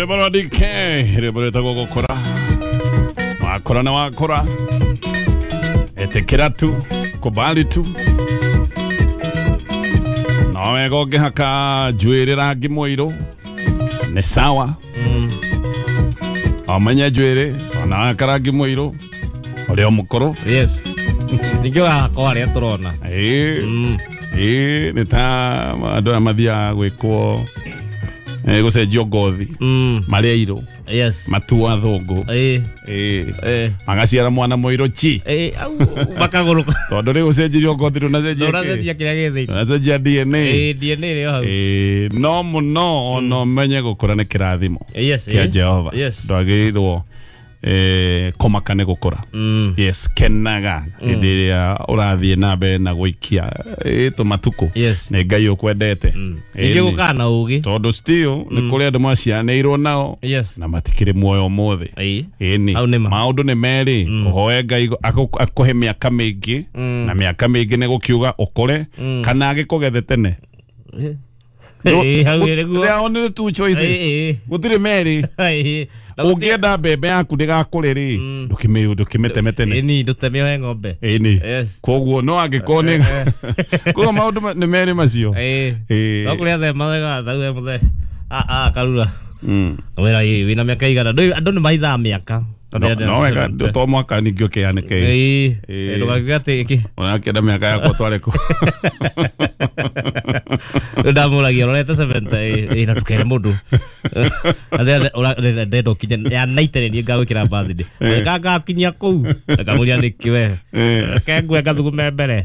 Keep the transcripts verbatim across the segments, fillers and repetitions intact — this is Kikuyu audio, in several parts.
Rwĩmbo rwa D K, rwĩmbo rwĩtagwo gũkũra. Wakũra na wakũra, ĩtĩkĩra tu, kubali tu. No wega ũngĩhaka njuĩrĩ rangi mũirũ nĩ sawa. Ũmenye njuĩrĩ ona wahaka rangi mũirũ ũrĩ o mũkũrũ. Yes. Ningĩ ũrahaka o arĩa tũrona. Ĩĩ. Mm. Ĩĩ, nĩ ta andũ aya mathiaga gwĩkwo eh, gũcenjio ngothi Mm. marĩ airũ Yes. matuo athũngũ. Ĩĩ. Ĩĩ. Ĩĩ. Magaciara mwana mũirũ chi. Ĩĩ, au makagũrũka. Tondũ rĩu ũcenjirio ngothi ndũnacenjia kĩ? Ndũracenjia kĩrĩa gĩ thĩinĩ. Ndũnacenjia D N A. Ĩĩ, D N A ĩrĩ o hau. Ĩĩ, no mũno ona ũmenye gũkũra nĩ kĩrathimo Yes, kĩa ĩĩ. Jehova. Yes. Ndwagĩrĩirwo eh, kũmaka nĩ gũkũra. Mm. Yes, kenaga hĩndĩ ĩrĩa ũrathiĩ na mbere na gũikia ĩ tũmatukũ. Yes. Nĩ Ngai ũkwendete. Mm. Ĩĩ, Ningĩ nĩ. gũkaa na ũgĩ. Tondũ still nĩ kũrĩ andũ macianĩirwo nao Yes. na matikĩrĩ muoyo ũmũthĩ. Ĩĩ. Ĩni. Hau nĩ ma. Maũndũ nĩ merĩ, ũhoe Ngai akũ- akũhe mĩaka mĩingĩ Mm. na mĩaka mĩingĩ nĩ gũkiuga ũkũre Mm. kana agĩkũgethe tene. Ĩĩ. Ĩĩ, hau nĩ nĩguo. There are only two choices. Ĩĩ, ĩĩ. Gũtirĩ merĩ. Ĩĩ. Na gũtirĩ- Ũngĩenda mbembe yaku ndĩgakũre rĩ, ndũkĩmĩ- ndũkĩmĩteme tene. Ĩni, ndũteme ohe ng'ombe. Ĩni. Yes. Koguo no angĩkorwo nĩ koguo maũndũ ma- nĩ merĩ macio. Ĩĩ. Ĩĩ. No kũrĩa the mathega, thau he mũthee. A- a, karura. Mm. Wĩra ĩ, wĩna mĩaka igana. Ndũĩ, andũ nĩ mahithaga mĩaka. No, no wega to mwaka ningĩ ũkĩanĩke. Ĩĩ. Ĩĩ. Ndũgakiuge atĩ ĩkĩ. Ũrakĩenda mĩaka yakwa tware kũ. Rĩu ndamũragia ũrorete seventy, ĩĩ, ĩĩ, na ndũkere mũndũ. Ndenda ũkinye ya ninety nĩ niĩ ngagwĩkĩra birthday. Ĩĩ. Nga ngakinyia kũu. Ngamũria nĩkĩ we. Ĩĩ. Reke ngue ngathugume mbere.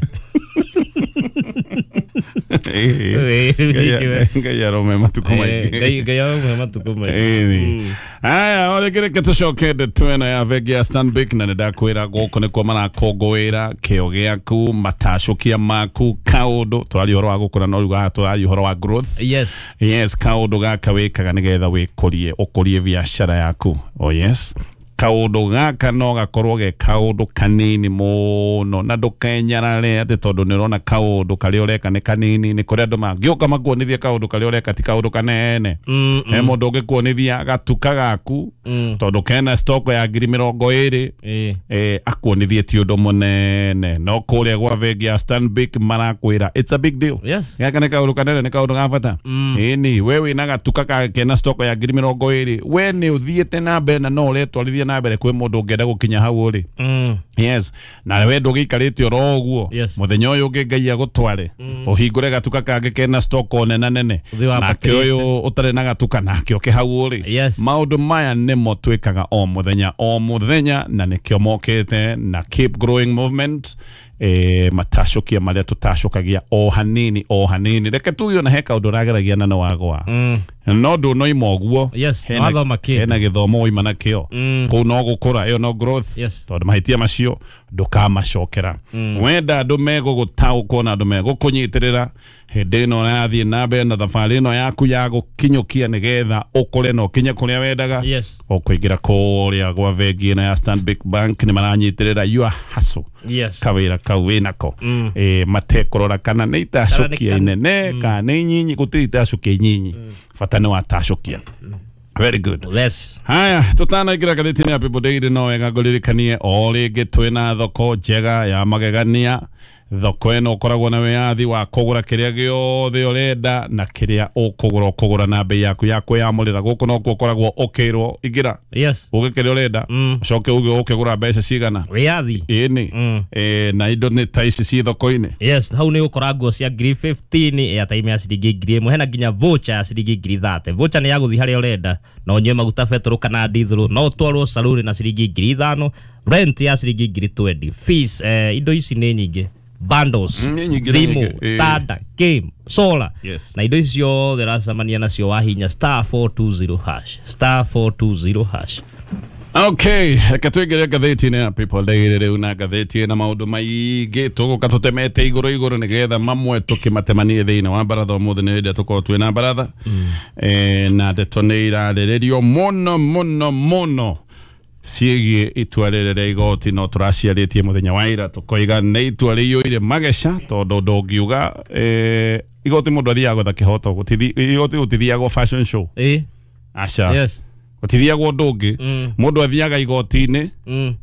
Ĩĩ. Ĩĩ, rĩu ningĩ we. Ngai arome matukũ Ĩĩ, maingĩ. Ngai Ngai arome matukũ maingĩ. Ĩĩ. Aya, o rĩngĩ reke tũcoke ndeto ĩno ya bengi ya Stanbic na nĩndakwĩra gũkũ nĩkuo marakũngũĩra kĩo gĩaku, matacũkia maku, kaũndũ. Tũraria ũhoro wa gũkũra no rĩu haha tũraria ũhoro wa growth. Yes. Yes, kaũndũ gaka wĩkaga nĩgetha wĩkũrie, ũkũrie biacara yaku. Oh yes. Kaũndũ gaka no gakorwo ge kaũndũ kanini mũno na ndũkenyarare atĩ tondũ nĩ ũrona kaũndũ karĩa ũreka nĩ kanini. Nĩ kũrĩ andũ mangĩũka makuonithie kaũndũ karĩa ũreka ti kaũndũ kanene. Mm, He mũndũ ũngĩkuonithia gatuka gaku mm. tondũ kena stock ya ngiri mĩrongo ĩrĩ, Ĩĩ. eh, akuonithie ti ũndũ mũnene. No kũrĩa gwa bengi ya Stanbic marakwĩra it's a big deal. Yes. Gaka nĩ kaũndũ kanene, nĩ kaũndũ ga bata. Mm. Ĩni, we wĩna gatuka ka kena stock ya ngiri mĩrongo ĩrĩ, we nĩ ũthiĩte na mbere na no ũretwarithia na mbere kwĩ mũndũ ũngĩenda gũkinya hau ũrĩ. Mm. Yes, na we ndũgĩikarĩte oro ũguo. Yes. Mũthenya ũyũ ũngĩ Ngai agũtware ũhingũre gatuka kangĩ kena stock o nena nene, Ũthiĩ nake wambatĩrĩte. ũyũ ũtarĩ na gatuka nake ũke hau ũrĩ. Yes. Maũndũ maya nĩmo twĩkaga o mũthenya o mũthenya na nĩkĩo mokĩte na Keep Growing Movement, eh, matacũkia marĩa tũtacũkagia o hanini o hanini. Reke tuge ona he kaũndũ ũrageragia na nĩ wagwa. Mm. No ndũnoima ũguo. Yes, Hena- wathoma kĩndũ. hena gĩthomo waima nakĩo. Mm. Kũu no gũkũra, ĩyo no growth. Yes. Tondũ mahĩtia macio ndũkamacokera. Wenda andũ megũgũtaũkwo na andũ megũkũnyitĩrĩra hĩndĩ ĩno ũrathiĩ na mbere na thabarĩ ĩno yaku ya gũkinyũkia nĩgetha ũkũre na ũkinye kũrĩa wendaga. Yes. Ũkũingĩra kũrĩa gwa bengi ĩno ya Stanbic Bank nĩ maranyitĩrĩra your hustle. Yes. Kawĩra kau wĩnako. Mm. Ĩ, matekũrora kana nĩ itacũkia Kana nĩ inene kana nĩ nyinyi, gũtirĩ itacũkia inyinyi. Bata nĩ watacũkia. Very good. Yes. Haya, tutanaingĩra ngathĩti-inĩ ya People Daily no wega ngũririkanie o rĩngĩ twĩna thoko njega ya magegania. Thoko ĩno ũkoragwo na wĩyathi wa kũgũra kĩrĩa gĩothe ũrenda na kĩrĩa ũkũgũra ũkũgũra na bei yaku ya kwĩyamũrĩra. Gũkũ nokuo ũkoragwo ũkĩrwo ingĩra Yes. uge kĩrĩa ũrenda Mm. ũcoke uge ũkĩgũra mbeca cigana. Wĩyathi. Ĩni. Mm. Eh, na indo nĩ ta ici ci thoko-inĩ. Yes, hau nĩ ũgũkora nguo cia ngiri fifteen, airtime ya ciringi ngiri ĩmwe, hena nginya voucher ya ciringi ngiri thirty. Voucher nĩ ya gũthiĩ harĩa ũrenda na ũnyue maguta betũrũ kana ndithũrũ, no ũtwarwo saluni na ciringi ngiri ithano, rent ya ciringi ngiri twenty, fees, eh, indo ici nĩ nyingĩ. Bundles, Mm, nĩ nyingĩ, nĩ thimũ, nyingĩ. Ĩĩ. tanda, game, solar. Yes. Na indo ici ciothe ũracemania nacio wahinya star four two zero hash, star four two zero hash. Okay, reke tũingĩre ngathĩti-inĩ ya People Daily rĩu na ngathĩti ĩna maũndũ maingĩ tũgũka tũtemete igũrũ igũrũ nĩgetha mamwe tũkĩmatemanie thĩinĩ wa baratha. Ũmũthĩ nĩ rĩrĩa tũkorwo twĩna baratha. Eh, na ndeto nĩ irarĩrĩrio mũno mũno mũno ciĩgiĩ itua rĩrĩ rĩa igoti no tũraciarĩtie mũthenya wa ira tũkoiga nĩ itua rĩiyũire mageca tondũ ndũngiuga eh, igoti mũndũ athiaga gwetha kĩhoto, gũtithi- igoti gũtithiagwo fashion show. Ĩĩ. Aca. Yes. Gũtithiagwo ũndũ ũngĩ. Mm. Mũndũ athiaga igoti-inĩ Mm.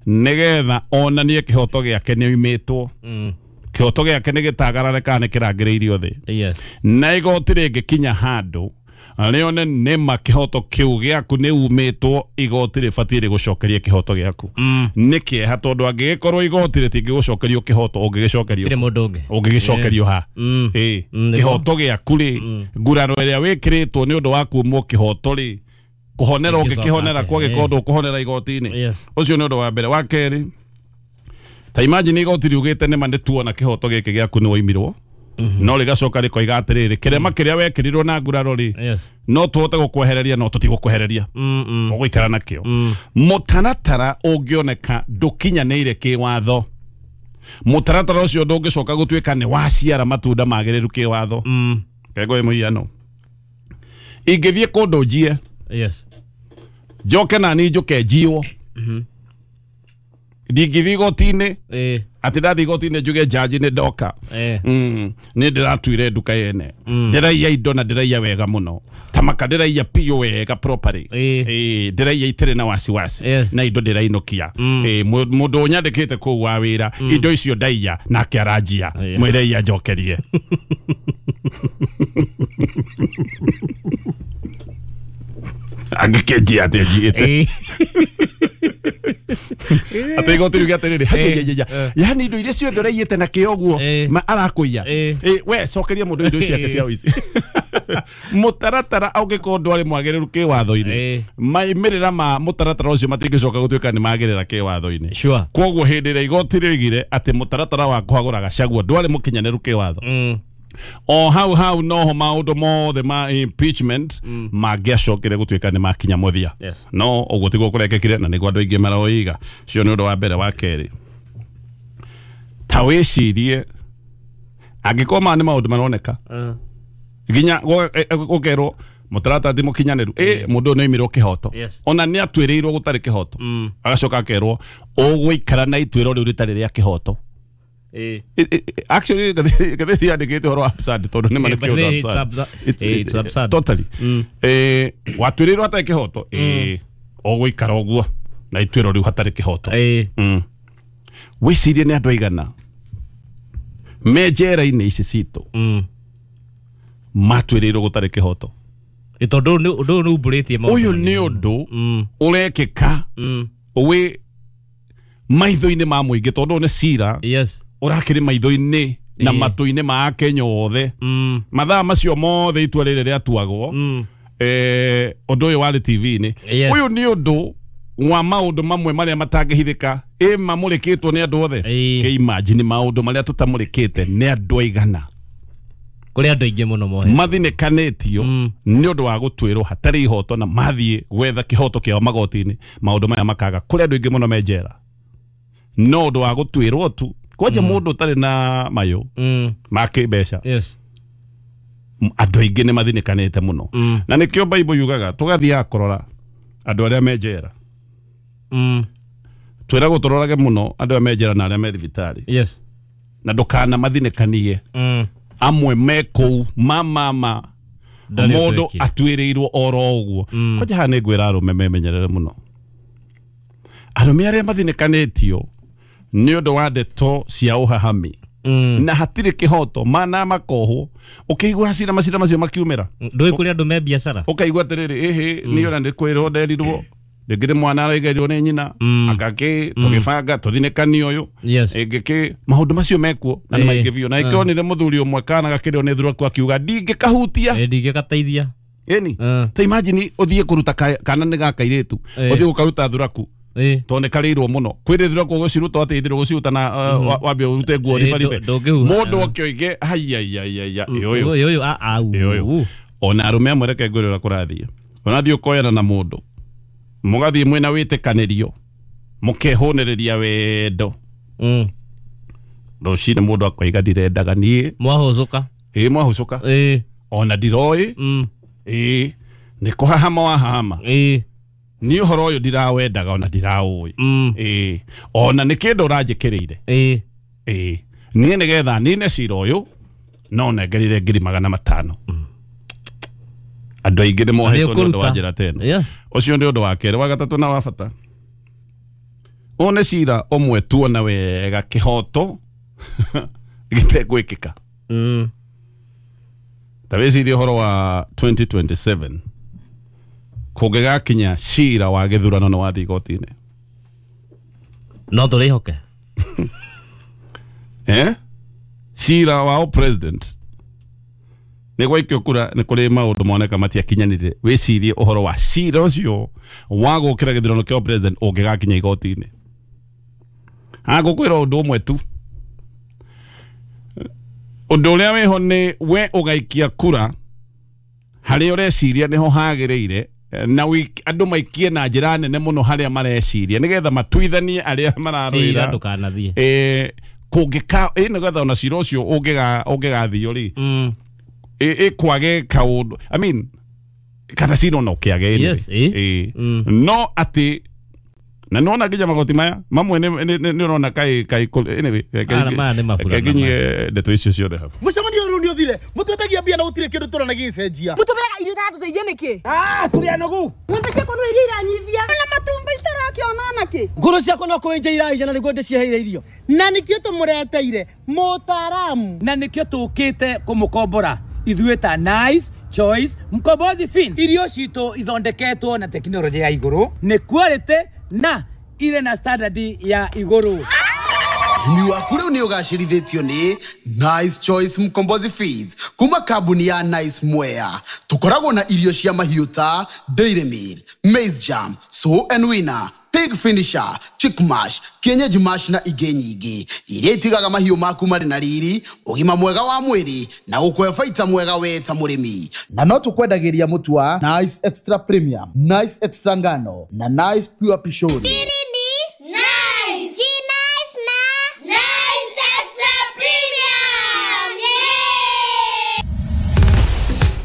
nĩgetha onanie kĩhoto gĩake nĩ oimĩtwo. Mm. Kĩhoto gĩake nĩ gĩtagarare kana nĩ kĩrangĩrĩirio thĩ. Yes. Na igoti rĩngĩkinya handũ rĩone nĩma kĩhoto kĩu gĩaku nĩ umĩtwo, igoti rĩbatiĩ rĩgũcokerie kĩhoto gĩaku. Mm. Nĩ kĩeha tondũ angĩgĩkorwo igoti rĩtingĩgũcokerio kĩhoto ũngĩgĩcokerio Tirĩ mũndũ ũngĩ. ũngĩgĩcokerio ha? Mm. Ĩĩ. Mm, nĩguo. Kĩhoto gĩaku rĩ, nguraro ĩrĩa wĩkĩrĩtwo nĩ ũndũ wa kumwo kĩhoto rĩ, kũhonera Ĩngĩcoka ũngĩkĩhonera atĩa? kwagĩkorwo Ĩĩ. ndũkũhonera igoti-inĩ. Yes. Ũcio nĩ ũndũ wa mbere. Wa kerĩ, ta imagine igoti riugĩte nĩma nĩ tuona kĩhoto gĩkĩ gĩaku nĩ woimirwo, no rĩgacoka rĩkoiga atĩrĩrĩ, kĩrema kĩrĩa wekĩrirwo na nguraro rĩ, Yes. no tũhote gũkwehereria no tũtigũkwehereria, Mm. Mm. ũgũikara nakĩo. Mm. Mũtaratara ũngĩoneka ndũkinyanĩire kĩwatho, mũtaratara ũcio ndũngĩcoka gũtuĩka nĩ waciara matunda magĩrĩru kĩwatho. Mm. Kengo mũhiano, ingĩthiĩ kũndũ njie, Yes. njoke nani njũke njiywo, ndingĩthiĩ igoti-inĩ Eh. atĩ ndathiĩ igoti-inĩ njuge njanji nĩ ndoka, Eh. Mm, nĩ ndĩratuire nduka yene, ndĩraiya indo na ndĩraiya wega mũno, tamaka ndĩraiya piũ wega properly. Ĩĩ. Ĩĩ, ndĩraiya itirĩ na wasiwasi Yes. na indo ndĩrainũkia. Ĩĩ, mũ- mũndũ ũnyandĩkĩte kũu wa wĩra indo icio ndaiya nake aranjia, Ĩĩ. mwĩre iya njokerie. Angĩkĩnjia atĩ njiĩte Eh. atĩ igoti riuge atĩrĩrĩ, Eh. "Haiya, yani indo iria ciothe ũraiyĩte na kĩo ũguo Eh. ma arakũiya, Eh. Eh, we cokeria mũndũ indo ciake cia ũici." Mũtaratara ũngĩkorwo ndwarĩ mwagĩrĩru kĩwatho-inĩ, Eh. maimĩrĩra ma mũtaratara ũcio matingĩcoka gũtuĩka nĩ magĩrĩra kĩwatho-inĩ. Sure. Koguo hĩndĩ ĩrĩa igoti rĩoigire atĩ mũtaratara wa kũhagũra Gachagua ndwarĩ mũkinyanĩru kĩwatho, Mm. o hau hau noho maũndũ mothe ma impeachment mangĩacokire gũtuĩka nĩ makinya mũthia. Yes. No ũguo tiguo kũrekĩkire na nĩguo andũ aingĩ maroiga. Cio nĩ ũndũ wa mbere. Wa kerĩ, ta wĩcirie angĩkorwo maya nĩ maũndũ maroneka Uh. nginya gũkerwo mũtaratara ti mũkinyanĩru, ĩ mũndũ ũyũ nĩ oimirwo kĩhoto, Yes. ona nĩ atuĩrĩirwo gũtarĩ kĩhoto, Mm. agacoka akerwo ũgũikara na ituĩro rĩu rĩtarĩ rĩa kĩhoto. Eh. It- it- actually ngathĩti yandĩkĩte ũhoro wa absurd tondũ nĩ ma nĩ Eh, but kĩũndũ it's absurd. absurd. It's- Eh, it's absurd. Totally. Mm. Eh, watuĩrĩirwo hatarĩ kĩhoto, ĩ ũgũikara ũguo na ituĩro rĩu hatarĩ kĩhoto. Eh. Mm. Wĩcirie nĩ andũ aigana me njera-inĩ ici citũ Mm. matuĩrĩirwo gũtarĩ kĩhoto. Ĩ tondũ nĩ ũndũ ũyũ nĩ umbũrĩtie maũndũ Ũyũ manene nĩ mũno. ũndũ Mm. ũrekĩka Mm. wĩ maitho-inĩ ma mũingĩ tondũ ũyũ nĩ cira Yes. ũrakĩrĩ maitho-inĩ na Ĩĩ. matũ-inĩ ma Akenya othe. Mm. Mathaa macio mothe itua rĩrĩ rĩatuagwo, Mm. eh, ũndũ ũyũ warĩ T V-inĩ. Yes. Ũyũ nĩ ũndũ wa maũndũ mamwe marĩa matangĩhithĩka ĩ mamũrĩkĩtwo nĩ andũ othe. Ĩĩ. Kĩ imagine maũndũ marĩa tũtamũrĩkĩte nĩ andũ aigana Kũrĩ andũ aingĩ mũno mohe. mathinĩkanĩtio Mm. nĩ ũndũ wa gũtuĩrwo hatarĩ ihoto na mathiĩ gwetha kĩhoto kĩao magoti-inĩ, maũndũ maya makaga. Kũrĩ andũ aingĩ mũno me njera no ũndũ wa gũtuĩrwo tu kwanja mũndũ ũtarĩ na mayũ Mm. ma kĩmbeca, Yes. andũ aingĩ nĩ mathinĩkanĩte mũno. Mm. Na nĩkĩo Bible yugaga tũgathiaga kũrora andũ arĩa me njera, Mm. twĩragwo tũrorage mũno andũ arĩa me njera na arĩa me thibitarĩ, Yes. na ndũkana mathinĩkanie. Mm. Amwe me kũu mamama Ndarĩ ũndũ mũndũ ekire. atuĩrĩirwo oro ũguo. Kwanja haha nĩ ngwĩra arũme memenyerere mũno, arũme arĩa mathinĩkanĩtio nĩ ũndũ wa ndeto cia ũhahami Mm. na hatirĩ kĩhoto mana makohwo, ũkĩigua cira macira macio makiumĩra, Ndũĩ kũrĩ andũ me biacara. ũkaigua atĩrĩrĩ, ĩhĩ niĩ ona nĩ kwĩrwo nderirwo rĩngĩ nĩ mwana araigerirwo nĩ nyina, Mm. angakĩ tũgĩbanga tũthinĩkanie ũyũ Yes. ĩngĩkĩ maũndũ macio mekuo na nĩ Ĩĩ. maingĩ biũ. Na ĩkĩonire mũthuri ũmwe kana gakĩrĩo nĩ thuraku akiuga ndingĩkahutia. Eh, ndingĩgateithia. Ĩni Eh. ta imagine ũthiĩ kũruta ka- kana nĩ ga kairĩtu, Ĩĩ. ũthiĩ gũkaruta thuraku Eh. tondũ nĩ karĩirwo mũno kwĩrĩ thuraku ũgũciruta atĩ ithirwo gũciruta na uh, wa- wambe ũrute nguo Ĩĩ, ribaribe ndũ- ndũngĩhuha. mũndũ akĩoige haiaiaiaia ĩ ũyũ Ũyũ ũyũ a au. Ĩ ũyũ. Ona arũme amwe reke ngwĩre ũrĩa kũrathiĩ, onathiĩ ũkoyana na mũndũ mũgathiĩ mwĩna wĩtĩkanĩrio mũkehũnĩrĩria wendo, Mm. rũcinĩ mũndũ akoiga ndirendaga niĩ. Mwahũcũka. Ĩ mwahũcũka, Ĩĩ. ona ndiroĩ, Mm. ĩ nĩ kũhahama wahahama, Ĩĩ. niĩ ũhoro ũyũ ndirawendaga ona ndiraũĩ, Mm. ĩ ona nĩ kĩndũ ũranjĩkĩrĩire, Ĩĩ. ĩ niĩ nĩgetha nine cira ũyũ no nengerire ngiri magana matano. Andũ aingĩ nĩ mohetwo nĩ ũndũ wa ũkũruta. njĩra ta ĩno. Yes. Ũcio nĩ ũndũ wa kerĩ. Wa gatatũ na wa bata, ũyũ nĩ cira ũmwe tuona wega kĩhoto gĩtegwĩkĩka. Mm. Ta wĩcirie ũhoro wa twenty twenty-seven kũngĩgakinya cira wa gĩthurano nĩ wathiĩ igoti-inĩ, no tũrĩhoke eh cira wa president nĩ gwaikio kura nĩ kũrĩ maũndũ moneka matiakinyanĩire. Wĩcirie ũhoro wa cira ũcio wa gũkĩra gĩthurano kĩa president ũngĩgakinya igoti-inĩ. Agũkwĩra ũndũ ũmwe tu, ũndũ ũrĩa wĩho nĩ we ũgaikia kura harĩa ũreciria nĩho hagĩrĩire, na andũ maikie na njĩra nene mũno harĩa mareciria nĩgetha matuithanie arĩa mararũĩra cira ndũkanathiĩ. Eh kũngĩka ĩ nĩgetha ona cira ũcio ũngĩga ũngĩgathio rĩ mm. ĩkwage kaũndũ, I mean kana cira no kĩage. Yes, eh? Mm. No atĩ na nona nginya magoti maya mamwe nĩ ũrona kai kai anyway kai ndeto icio ciothe hau. Mũcemanio ũyũ nĩ ũthire mũtwetagia mbia na gũtirĩ kĩndũ tũrona gĩgĩcenjia. Mũtũmĩraga irio itatũteithia nĩkĩ? Ah, tũrĩ anogu. Ng'ombe ciakwa no iria iranyivia na matumbĩ itarakĩona nakĩ. Ngũrũ ciakwa no kũenja iraija na nĩguo ndĩciheire irio. Na nĩkĩo tũmũreteire mũtaaramu, na nĩkĩo tũkĩte kũmũkombora ithuĩ ta Nice Choice Mkombozi Fin. Irio citũ ithondeketwo na tekinoronjĩ ya igũrũ, nĩ quality na ile na standard ya igũrũ. Ũrĩmi waku rĩu nĩ ũgacĩrithĩtio nĩ Nice Choice Mkombozi Feeds kuma kambuni ya Nice Mwea. Tũkoragwo na irio cia mahiũ ta Dairy Meal, Maize Jam, Sow and Winner, Pig Finisher, Chick Mash, Kienyeji Mash na ingĩ nyingĩ iria itigaga mahiũ maku marĩ na riri, ũgima mwega wa mwĩrĩ na gũkũhe baita mwega we ta mũrĩmi. Na no tũkwendagĩria mũtu wa Nice Extra Premium, Nice Extra Ngano na Nice Pure Pishori. Nice. Nice na Nice Extra Premium. Yeah!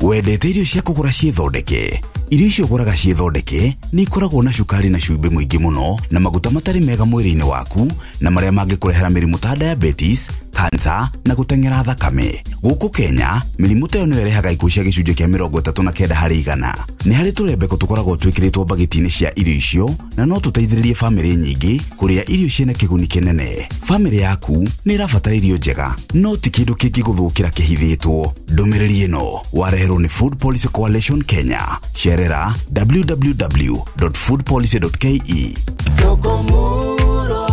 Wendete irio cia kũgũra ciĩthondeke? Irio icio ũgũraga ciĩthondeke nĩ ikoragwo na cukari na cumbĩ mũingĩ mũno na maguta matarĩ mega mwĩrĩ-inĩ waku na marĩa mangĩkũrehera mĩrimũ ta diabetes, cancer na gũteng'era thakame. Gũkũ Kenya, mĩrimũ ta ĩyo nĩyo ĩrehaga ikuũ cia gĩcunjĩ kĩa mĩrongo ĩtatũ na kenda harĩ igana. Nĩ harĩ tũrembeko tũkoragwo twĩkĩrĩtwo mbagiti-inĩ cia irio icio na no tũteithĩrĩrie bamĩrĩ nyingĩ kũrĩa irio ciĩna kĩguni kĩnene. Bamĩrĩ yaku nĩ ĩrabatara irio njega, no ti kĩndũ kĩngĩgũthũkĩra kĩhithĩtwo. Ndũmĩrĩri ĩno wareherwo nĩ Food Policy Coalition Kenya. Cerera w w w dot food policy dot k e. Soko Murwa,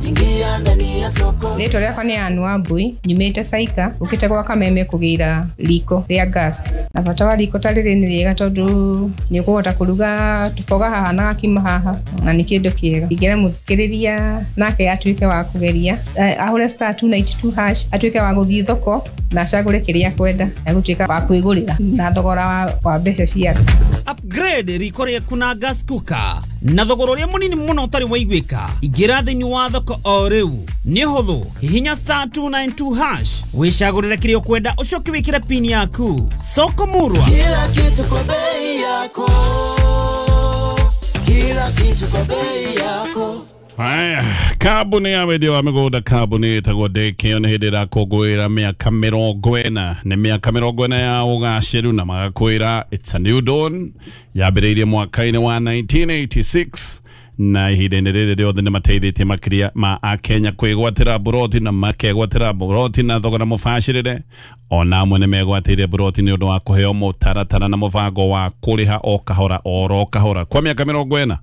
ingia ndani ya soko. Rĩtwa rĩakwa nĩ Ann Wambui, nyumĩte Saika, ũkĩte gwa Kameme kũgĩra riko rĩa gas. Na bata wa riko ta rĩrĩ nĩ rĩega tondũ nĩ ũkũhota kũruga tũboga haha na gakima haha, na nĩ kĩndũ kĩega. Ingĩra mũthikĩrĩria nake atuĩke wa kũgeria, ahũre star two ninety two hash, atuĩke wa gũthiĩ thoko na acagũre kĩrĩa akwenda, egũtuĩka wa kwĩgũrĩra na thogora wa, wa mbeca ciake. Upgrade riko rĩaku na gas cooker na thogora ũrĩa mũnini mũno ũtarĩ waiguĩka. Ingĩra thĩinĩ wa thoko o rĩu nĩ ũhũthũ, hihinya star two nine two hash wĩcagũrĩre kĩrĩa ũkwenda ũcoke wĩkĩre pin yaku. Soko Murwa, kila kitu kwa bei yako, kila kitu kwa bei yako. Haya, kambuni ya wendia wa mĩgũnda kambuni ĩtagwo Ndĩkĩo nĩ hĩndĩ ĩrakũngũĩra mĩaka mĩrongo ĩna. Nĩ mĩaka mĩrongo ĩna ya ũgacĩru na magakwĩra it's a new dawn. Yambĩrĩirie mwaka-inĩ wa nineteen eighty-six na ihinda-inĩ rĩrĩ rĩothe nĩ mateithĩtie makĩria ma akenya kwĩgwatĩra mburoti na makegwatĩra mburoti na thogora mũbacĩrĩre. Ona amwe nĩ megwatĩire mburoti nĩ ũndũ wa kũheo mũtaratara na mũbango wa kũrĩha o kahora oro kahora kwa mĩaka mĩrongo ĩna.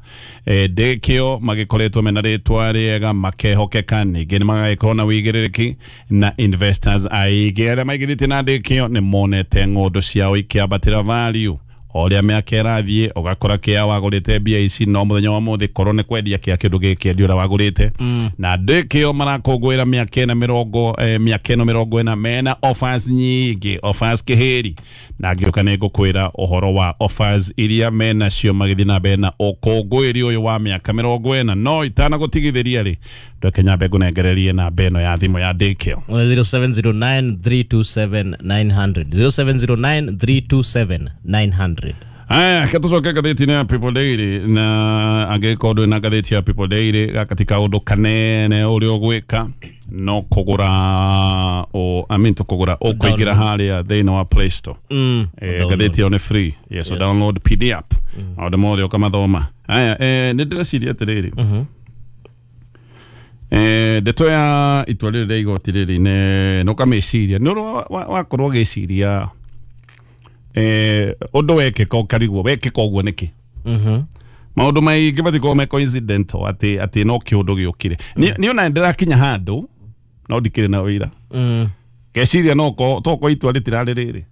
Ndĩkĩo magĩkoretwo mena rĩtwa rĩega, makehokeka, ningĩ nĩ magagĩkorwo na wĩigĩrĩrĩki na investors aingĩ arĩa maigithĩtie na Ndĩkĩo nĩ monete ng'ũndũ ciao ikĩambatĩra value. O ũrĩa mĩaka ĩrathiĩ ũgakora kĩa wagũrĩte mbia ici no mũthenya wa mũthĩ korwo nĩ kwendia kĩa kĩndũ gĩkĩendio ũrĩa wagũrĩte. Na Ndĩkĩo marakũngũĩra mĩaka ĩna mĩrongo mĩaka ĩno mĩrongo ĩna mena offers nyingĩ, offers kĩhĩri, na ngĩũka nĩ ngũkwĩra ũhoro wa offers iria menacio magĩthiĩ na mbere na ũkũngũĩri ũyũ wa mĩaka mĩrongo ĩna. No itanagũtigithĩria rĩ, ndweke nyambe ngũnengererie namba ĩno ya thimũ ya Ndĩkĩo zero seven zero nine three two seven nine hundred, zero seven zero nine three two seven nine hundred. Aya, katucoke ngathĩti-inĩ ya People Daily na angĩkorwo ndũrĩ na ngathĩti ya People Daily gaka ti kaũndũ kanene ũrĩa ũgwĩka. No kũgũra o I mean tũkũgũra ũkũingĩra harĩa thĩinĩ wa Play Store. Mm. Eh, ngathĩti ĩyo nĩ free. Yes, so download P D app. Maũndũ mothe ũkamathoma. Aya, eh, nĩ ndĩreciria atĩrĩrĩ. Mhm. Eh, ndeto ya itua rĩrĩ rĩa igoti rĩrĩ nĩ nĩ ũkamĩciria nĩ ũrĩa wakorwo ũgĩciria eh, ũndũ wekĩka ũkarigwo wekĩka ũguo nĩkĩ. Mhm. Maũndũ maingĩ matikoragwo me coincidental atĩ atĩ no kĩũndũ gĩũkire. Niĩ ona ndĩrakinya handũ no ndikĩrĩ na ũira. Mm. Ngeciria no tokorwo itua rĩtirarĩ rĩrĩ.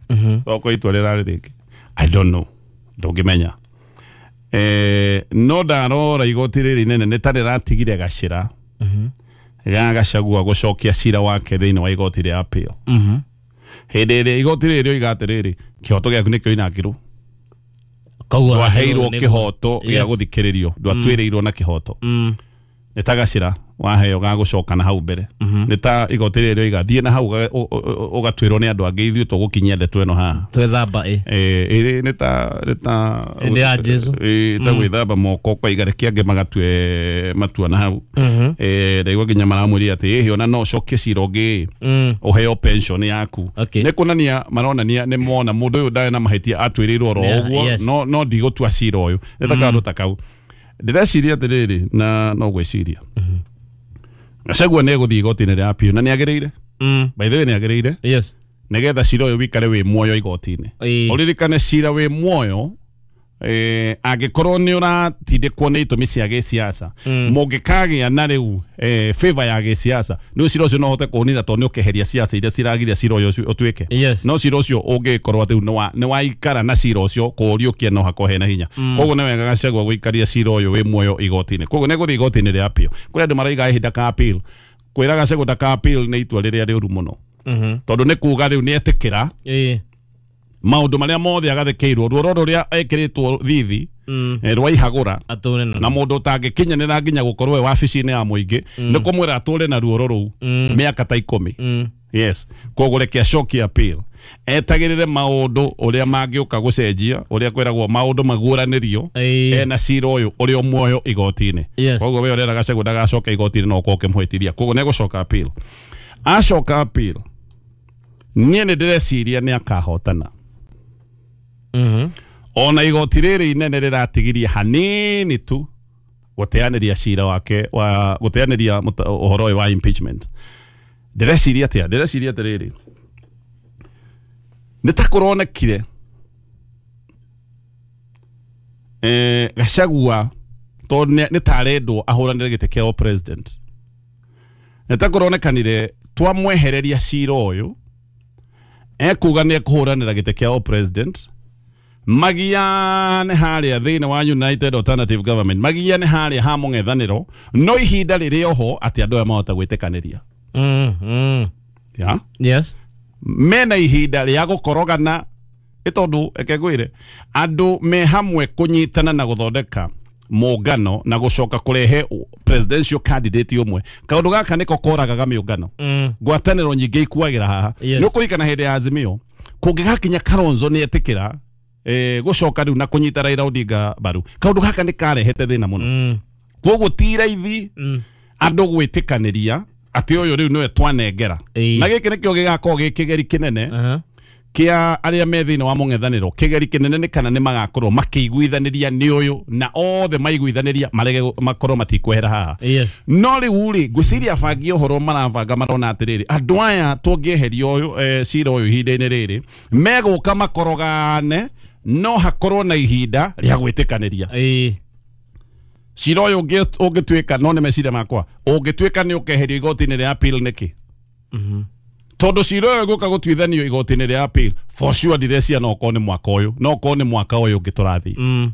Mhm. Tokorwo itua rĩrarĩ rĩngĩ. I don't know. Ndũngĩmenya. Eh, no ndarora igoti rĩrĩ inene nĩ ta rĩratigire gacĩra. Mhm. Ga Gachagua gũcokia cira wake thĩinĩ wa igoti rĩa appeal. Mhm. Hĩndĩ ĩrĩa igoti rĩrĩ rĩoiga atĩrĩrĩ, kĩhoto gĩaku nĩ kĩoinangirwo. Koguo ndwaheirwo kĩhoto gĩa Yes. gũthikĩrĩrio, ndwatuĩrĩirwo na kĩhoto. Mm. Nĩ ta gacĩra waheo ga gũcoka na hau mbere. Nĩ ta igoti rĩrĩ rĩoiga thiĩ na hau ũgatuĩrwo nĩ andũ angĩ, ithuĩ tũgũkinyia ndeto ĩno haha. Twĩthamba ĩ. Eh, ĩrĩ nĩ ta nĩ ta Hĩndĩ ya Jesu. Ĩ ta gwĩthamba moko ũkoiga reke angĩ magatue matua na hau. Mhm. Eh, ndaigua nginya maramwĩrire atĩ ĩhĩ ona no ũcokie cira ũngĩ Mm. ũheo pension yaku. Okay. Nĩ kuonania maronania nĩ mona mũndũ ũyũ ndarĩ na mahĩtia atuĩrĩirwo oro Yeah, ũguo yes. no no ndigũtua cira ũyũ. Nĩ ta kaũndũ ta kau. Ndĩreciria atĩrĩrĩ na no gwĩciria. Gachagua nĩ egũthiĩ igoti-inĩ rĩa appeal na nĩ agĩrĩire. Mm. By the way nĩ agĩrĩire. Yes. Nĩgetha cira ũyũ wĩikare wĩ muoyo igoti-inĩ. Ĩĩ. Ũririkane cira wĩ muoyo eh, angĩkorwo nĩ ũratindĩkwo nĩ itũmi cia gĩsiasa, mũngĩkagĩa na rĩu eh, favor ya gĩsiasa, nĩ cira ũcio no ũhote kũũnina tondũ nĩ ũkeheria siasa iria ciragiria cira ũyũ ũtuĩke. Yes. No cira ũcio ũngĩkorwo atĩ rĩu nĩ waikara na cira ũcio kũũriũkia no hakorwo hena hinya. Koguo nĩ wega Gachagua gũikaria cira ũyũ wĩ muoyo igoti-inĩ. Koguo nĩ egũthiĩ igoti-inĩ rĩa appeal. Kũrĩ andũ maraiga ĩhĩ ndaka appeal. Kwĩra Gachagua ndaka appeal nĩ itua rĩrĩa rĩũru mũno. Mhm. Tondũ nĩ kuga rĩu nĩ etĩkĩra Ĩĩ. maũndũ marĩa mothe agathĩkĩirwo, ruoro rũrĩa ekĩrĩtwo thithi Mm. rwa ihagũra Atũre na mũndũ ũtangĩkinyanĩra nginya gũkorwo e wabici-inĩ ya mũingĩ nĩ kũmwĩra atũre na ruoro rũu mĩaka ta ikũmi. Mm. Yes. Koguo reke acokie appeal. Etagĩrĩre maũndũ ũrĩa mangĩũka gũcenjia, ũrĩa kwĩragwo maũndũ maguũranĩrio ena cira ũyũ ũrĩ o muoyo igoti-inĩ. Yes. Koguo we ũrera Gachagua ndagacoka igoti-inĩ no ũkorwo ũkĩmũhĩtithia. Koguo nĩ egũcoka appeal. Acoka appeal, niĩ nĩ ndĩreciria nĩ akahotana. Mhm. Ona igoti rĩrĩ inene rĩratigirie hanini tu gũteanĩria cira wake wa gũteanĩria ũhoro ũyũ wa impeachment. Ndĩreciria atĩa? Ndĩreciria atĩrĩrĩ, nĩ ta kũronekire eh, Gachagua tondũ nĩ ta arendwo ahũranĩre gĩtĩ kĩa president, nĩ ta kũronekanire twamwehereria cira ũyũ ekuga nĩ ekũhũranĩra gĩtĩ kĩa president, magiane harĩa thĩinĩ wa United Alternative Government, magiane harĩa ha mũng'ethanĩro, no ihinda rĩrĩ oho atĩ andũ aya mahota gwĩtĩkanĩria. Mm, mm. Yeah? Yes. Mena ihinda rĩa gũkorogana ĩ tondũ eke ngwĩre andũ me hamwe kũnyitana na gũthondeka mũngano na gũcoka kũrehe presidential candidate ũmwe. Kaũndũ gaka nĩko koragaga mĩũngano. Mm. Ngwatanĩro nyingĩ ikuagĩra haha. Yes. Nĩ ũkũririkana hĩndĩ ya Azimio kũngĩgakinya Kalonzo nĩ etĩkĩra eh, gũcoka rĩu na kũnyita Raila Odinga mbaru, kaũndũ gaka nĩ karehete thĩna mũno. Mm. Koguo ti raithi Mm. andũ gwĩtĩkanĩria atĩ ũyũ rĩu nĩwe twanengera. Ĩĩ. Na gĩkĩ nĩkĩo gĩgakorwo gĩ kĩgeri kĩnene Uh-huh. kĩa arĩa me thĩinĩ wa mũng'ethanĩro. Kĩgeri kĩnene nĩ kana nĩ magakorwo makĩiguithanĩria nĩ ũyũ na othe maiguithanĩria marege makorwo matikwehera haha. Yes. No rĩu rĩ ngwĩciria abangi ũhoro marabanga marona atĩrĩrĩ, andũ aya tũngĩeheria ũyũ eh, cira ũyũ ihinda-inĩ rĩrĩ megũka makorogane, no hakorwo na ihinda rĩa gwĩtĩkanĩria. Ĩĩ. Cira ũyũ ũngĩtuĩka, no nĩ meciria makwa, ũngĩtuĩka nĩ ũkeherio igoti-inĩ rĩa appeal nĩkĩ? Mhm. Tondũ cira ũyũ gũka gũtuithanio igoti-inĩ rĩa appeal for sure ndirecia no okorwo nĩ mwaka ũyũ, no okorwo nĩ mwaka ũyũ ũngĩ tũrathiĩ. Mm.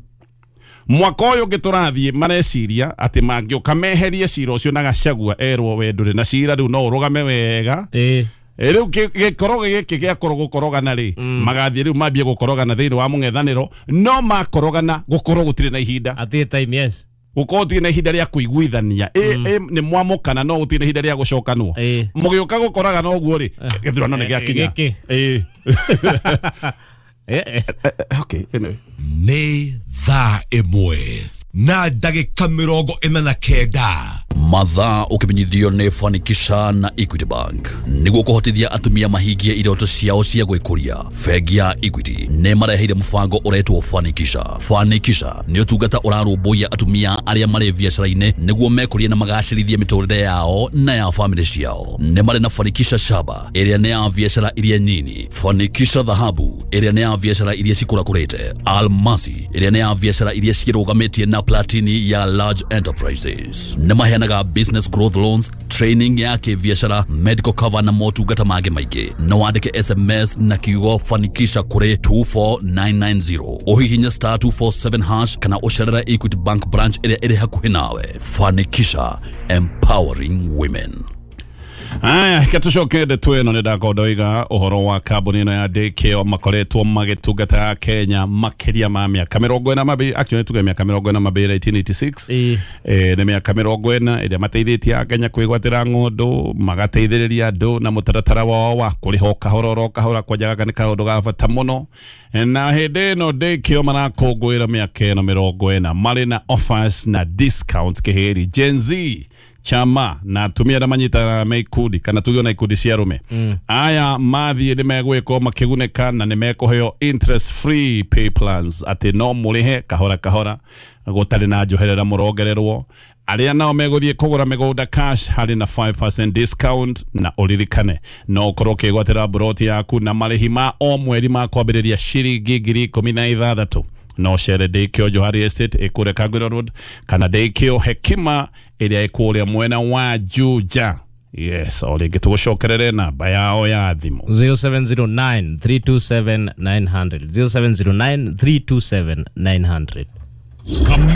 Mwaka ũyũ ũngĩ tũrathiĩ mareciria atĩ mangĩũka meherie cira ũcio na Gachagua erwo we ndũrĩ na cira rĩu no ũrũgame wega. Ĩĩ. Rĩu gĩkorogo gĩkĩ gĩakorwo gũkorogana rĩ, magathiĩ rĩu mambie gũkorogana thĩinĩ wa mũng'ethanĩro, no makorogana gũkorwo gũtirĩ na ihinda. Atirĩ time, yes. Gũkorwo gũtirĩ na ihinda rĩa kũiguithania. Ĩ nĩ mwamũkana no gũtirĩ na ihinda rĩa gũcokanwo. Mũgĩũka gũkoragana ũguo rĩ, gĩthurano nĩ gĩakinya. Ĩ. Okay, anyway. Nĩ thaa ĩmwe na ndagĩka mĩrongo ĩna na kenda. Mathaa ũkĩmenyithio nĩ Fanikisha na Equity Bank. Nĩguo kũhotithia atumia mahingie iroto ciao cia gwĩkũria, bengi ya Equity nĩ mareheire mũbango ũretwo Fanikisha. Fanikisha nĩ ũtungata ũrarũmbũiya atumia arĩa marĩ biacara-inĩ nĩguo mekũrie na magacĩrithie mĩtũrĩre yao na ya famĩlĩ ciao. Nĩ marĩ na Fanikisha Shaba ĩrĩa nĩ ya biacara iria nyini, Fanikisha Dhahabu ĩrĩa nĩ ya biacara iria cikũrakũrĩte, Almasi ĩrĩa nĩ ya biacara iria cirũgamĩtie na Platini ya large enterprises. Nĩ maheanaga business growth loans, training ya kĩbiacara, medical cover na motungata mangĩ maingĩ. No wandĩke S M S na kiugo Fanikisha kũrĩ two four nine nine zero, ũhihinye star two four seven hash kana ũcerere Equity Bank branch ĩrĩa ĩrĩ hakuhĩ nawe. Fanikisha, empowering women. Aya, katucoke ndeto ĩno nĩ ndakorwo ndoiga ũhoro wa kambuni ĩno ya Daycare makoretwo magĩtungata Kenya makĩria ma mĩaka mĩrongo ĩna mabĩrĩ, actually tuge mĩaka mĩrongo ĩna mabĩrĩ nineteen eighty-six. Eh, nĩ mĩaka mĩrongo ĩna ĩrĩa mateithĩtie Akenya kwĩgwatĩra ng'ũndũ, magateithĩrĩria andũ na mũtaratara wao wa kũrĩha o kahora oro kahora, kwanja gaka nĩ kaũndũ ga bata mũno. Na hĩndĩ ĩno Daycare marakũngũĩra mĩaka ĩno mĩrongo ĩna marĩ na offers na discount kĩhĩri Gen Z chama na atumia arĩa manyitanaga me ikundi kana tuge ona ikundi cia arũme. Mm. Aya mathiĩ nĩ megwĩkwo makĩgunĩka na nĩ mekũheo interest free pay plans, atĩ no mũrĩhe kahora kahora gũtarĩ na njoherera mũrongererwo. Arĩa nao megũthiĩ kũgũra mĩgũnda cash harĩ na five percent discount, na ũririkane no ũkorwo ũkĩgwatĩra mburoti yaku na marĩhi ma o mweri ma kwambĩrĩria ciringi ngiri ikũmi na ithathatũ. No cere Daycare Johari Estate ĩkũrĩa Kagwira Road kana Daycare Hekima ĩrĩa ĩkũrĩa mwena wa Juja. Yes, o rĩngĩ tũgũcokerere namba yao ya thimũ zero seven zero nine three two seven nine hundred, zero seven zero nine three two seven nine hundred.